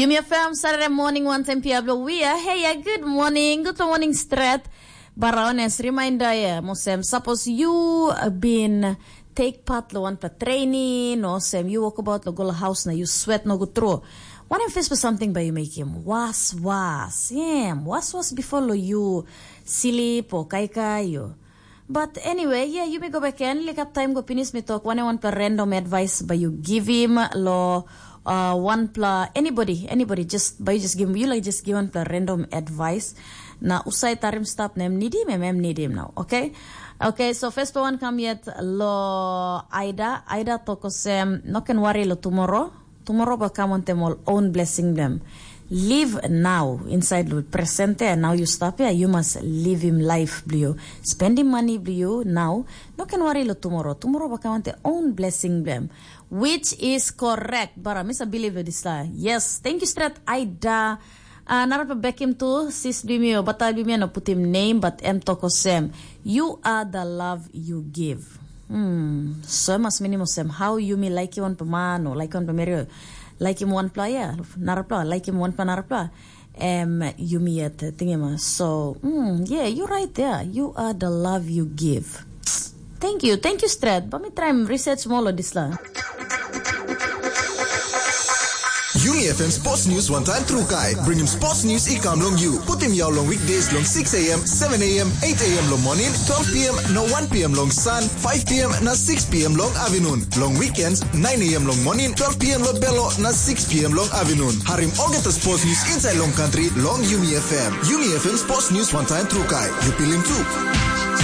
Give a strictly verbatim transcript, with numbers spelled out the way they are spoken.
Yumi F M Saturday morning, one ten p m lo wia. Hey, yeah, good morning. Good morning, stret. Bara honest reminder, yeah, mosem. Suppose you been take part lo one pa training, no sem, you walk about lo go lo house na you sweat no go through. One em face for something by you make him was was. Yeah, was was before lo you sleep or kai kai you. But anyway, yeah, you may go back and look up time go finish me talk one one pa random advice by you give him lo uh, one pla anybody anybody just by you just give him you like just give one pla random advice. Na usai tarim stap nem nidim em em nidim now, okay? Okay, so first one come yet lo Aida. Aida tokosem no can worry lo tomorrow. Tomorrow ba come on them all own blessing them. Live now inside lo presente and now you stop here. You must live him life blue. Spending money blue now. No can worry lo tomorrow. Tomorrow ba come on the own blessing them. Which is correct. Bara misa believe this la. Yes, thank you straight Aida. Uh, narapa bekim tu sis bimio bata bimio no putim name but em toko sem. You are the love you give. Hmm. So mas minimo sem how you me like you on pamano like on pamero like him one player narapla like him one pa narapla. Em yumi yet tingema. So mm, yeah, you right there. You are the love you give. Thank you, thank you, Strat. But me try and research more on this la. Yumi F M Sports News one time through kai. Bring him sports news i come long you. Put him yao long weekdays long six a m, seven a m, eight a m long morning, twelve p m na one p m long sun, five p m na six p m long afternoon. Long weekends, nine a m long morning, twelve p m long belo na six p m long afternoon. Harim olgeta sports news inside long country long Yumi F M. Yumi F M Sports News one time through kai. You feel him too.